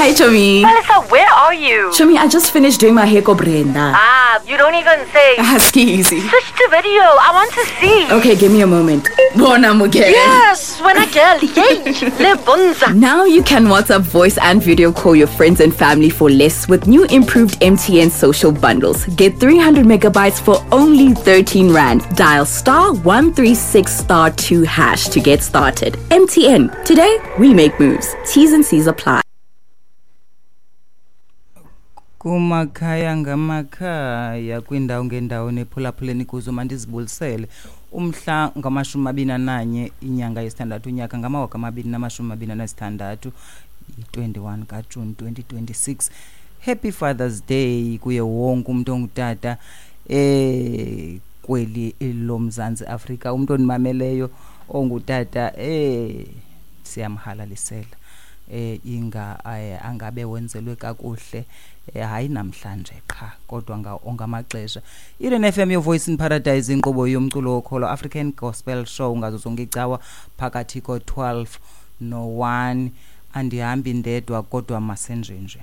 Hi, Chomi. Melissa, where are you? Chomi, I just finished doing my hair ko Brenda. Ah, you don't even say. Excuse. Switch to video. I want to see. Okay, give me a moment. Bona Mugere. Yes, when I girl. Yay. Le bonza. Now you can WhatsApp voice and video call your friends and family for less with new improved MTN social bundles. Get 300 megabytes for only 13 Rand. Dial star 136 star 2 hash to get started. MTN. Today, we make moves. T's and C's apply. Kumakhaya ngamakhaya, kwiindawo ngeendawo nephulaphuleni kuzo, mandizibulisele. Umhla ngama-21 inyanga yesithandathu, unyaka ngama-2026, yi-21 kaJuni 2026. Happy Father's Day kuye wonke umntu ongutata kweli loMzantsi Afrika. Umntu ondimameleyo ongutata, siyamhalalisela, inga angabe wenzelwe kakuhle, hayi namhlanje qha kodwa onke amaxesha. Eden FM, your voice in paradise, inkqubo yomculo wokholo, African Gospel Show, ngazo zonke icawa phakathi ko-12 no-1. Andihambi ndedwa, kodwa masenjenje.